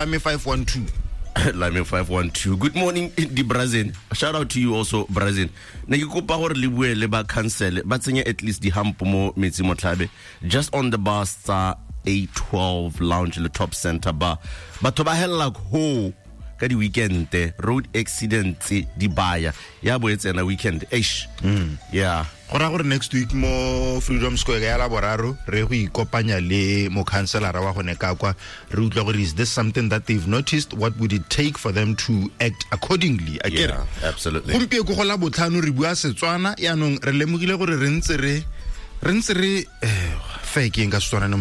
Lame 512. Lame 512. Good morning, di Brazil. Shout out to you also, Brazil. Ne ke kopa gore le bue le ba council ba tsenye at least di hump mo metsi motlhabe just on the bus tsa A12 lounge le top center bar. Batho ba hella ho ka di weekend road accidents di baya ya bo e tsena weekend eish. Yeah. Go raya gore next week mo Freedom Square ya Laboraro re go ikopanya le mokhanselara wa gone ka kwa, re utlwa gore is this something that they've noticed, what would it take for them to act accordingly? A kere? Yeah, absolutely. Gompieno go la botlhano re bua Setswana, yaanong re lemogile gore re ntse re re ntse re fa ke eng ka Setswana no?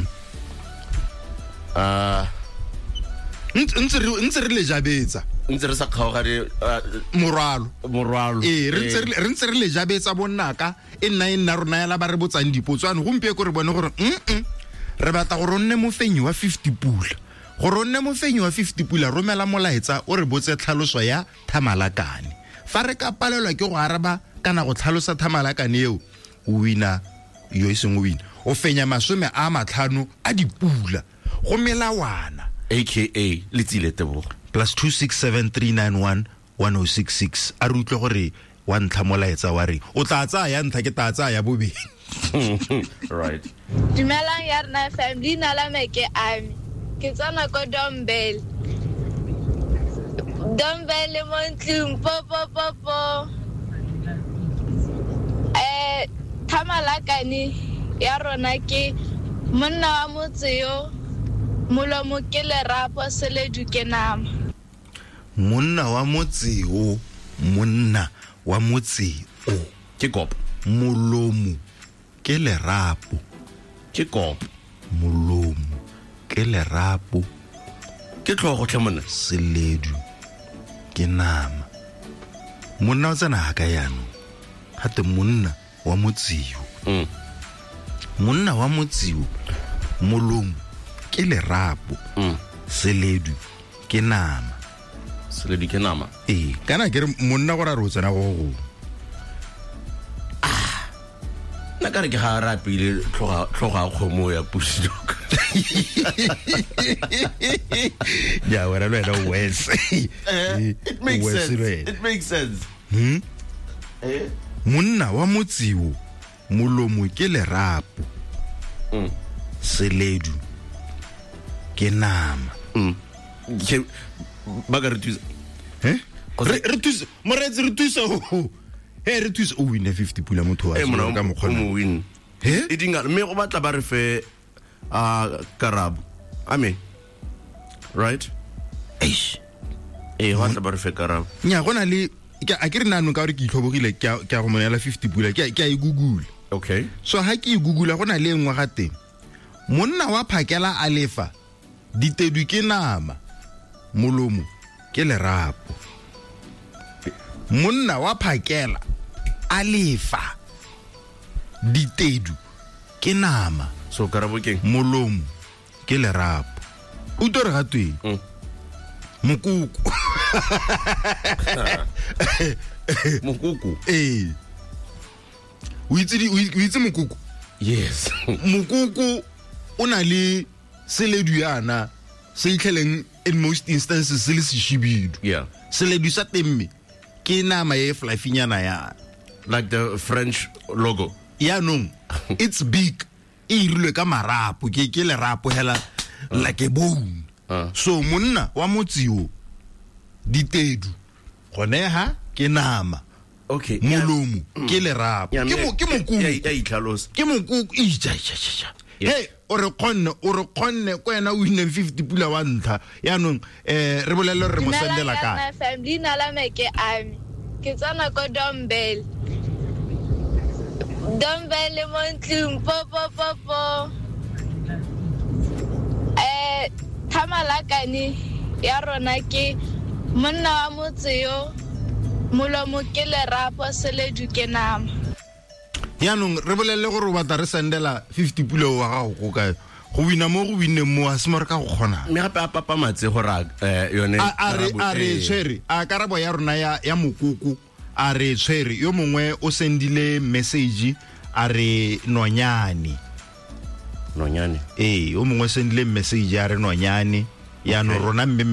Ntse re le jabetsa. Ntse re sa kgaogane, morwalo. Morwalo. Ee, re ntse re le jabetsa bonnaka, e nna rona yala ba re botsang dipotso. Ano gompieno re bone gore re batla gore o nne mofenyi wa 50 pula. Gore o nne mofenyi wa 50 pula, romela molaetsa o re botse tlhaloso ya thamalakane. Fa re ka palelwa ke go araba kana go tlhalosa thamalakane eo, o wina yo e seng o wina. O fenya 50 a dipula go melawana. AKA Letsile Tebogo. Plus two six seven three nine one one oh six six. A re utlwe gore wa ntlha molaetsa wa reng. O tla tsaya ya ntlha, ke tla tsaya ya bobedi. Right. Dumelang ya rena FM, leina la me ke Ami. Ke tsena ko Dombele. Dombele mo ntlong, po, po, po, po. Thamalakane ya rona ke monna wa motse yo, molomo ke lerapo, seledu ke nama. Monna wa motse o, monna wa motse o. Ke kop. Molomo ke lerapo. Ke kop. Molomo ke lerapo. Ke tlhogo tlhe monna. Seledu ke nama. Monna o tsena ha ka jaanong? Gate monna wa motse o. Monna wa motse o, molomo ke lerapo. Seledu ke nama. Seledu ke nama. Ee, kana ke re monna gore a re o tsena go go. Nna ka re ke ga re apile tlhoga ya kgomo ya pusi dog. Ya, wena le wena o worse. It makes O worse sense. le wena. It makes sense. Monna wa motse o, molomo ke lerapo. Seledu ke nama. Ke, ba ka re thusa. Eh? Kgotsa Re thuse, moreetsi, re thuse ho. He, re thuse, o win 50 pula motho wa Eh, monna, ka o mokgwa mo win. He? E dinga, mme go batla ba re fe, karabo. Amen. Right? Eish. Go batla ba re fe karabo. Nya, go na le, ke, a ke re nano ka gore ke itlhobogile, ke a go mo neela 50 pula, ke a e Google. Okay. So ha ke e Google, go na le e nngwe ga teng. Monna wa phakela a lefa, ditedu ke nama, molomo ke lerapo. Monna wa phakela a lefa, ditedu ke nama. So karabo ke eng? Molomo ke lerapo. O tlo re ga tweng? Mokoko. Mokoko? Ee. O itse di, o itse mokoko? Yes. Mokoko o na le seledu yana se itlheleng in most instances se le seshibidu. Yeah. Seledu sa teng mme ke nama e fluffy-nyana yana. Like the French logo. Yaanong, it's big. E irilwe ka marapo, ke lerapo hela like a bone. So monna wa motse o, ditedu gone ha ke nama. Okay. Molomo ke lerapo. Yeah, Ke mme ke mokoko. ya itlhalosa. Ke mokoko. Ija, ija, ija, ija. Yes. Hey, o re kgonne, o re kgonne, ko wena o winneng 50 pula wa ntlha. Yaanong, re bolelle gore re mo Dumelang sendela ya kae. rona FM, leina la me ke Ami. Ke tsena ko Dombele. Dombele mo ntlong, po, po, po, po. Thamalakane ya rona ke monna wa motse yo, molomo ke lerapo, seledu ke nama. Yaanong re bolelle gore o batla re sendela 50 pula wa gago ko kae? Go wina mo go winneng mo, a se mo re ka go kgonang. Mme gape a papamatse gore a, yone A re, karabo a re e. tshwere, a karabo ya rona ya mokoko, a re tshwere. Yo mongwe o sendile message a re nonyane. Nonyane. Ee, yo mongwe o sendile message a re nonyane. Yaanong rona mme.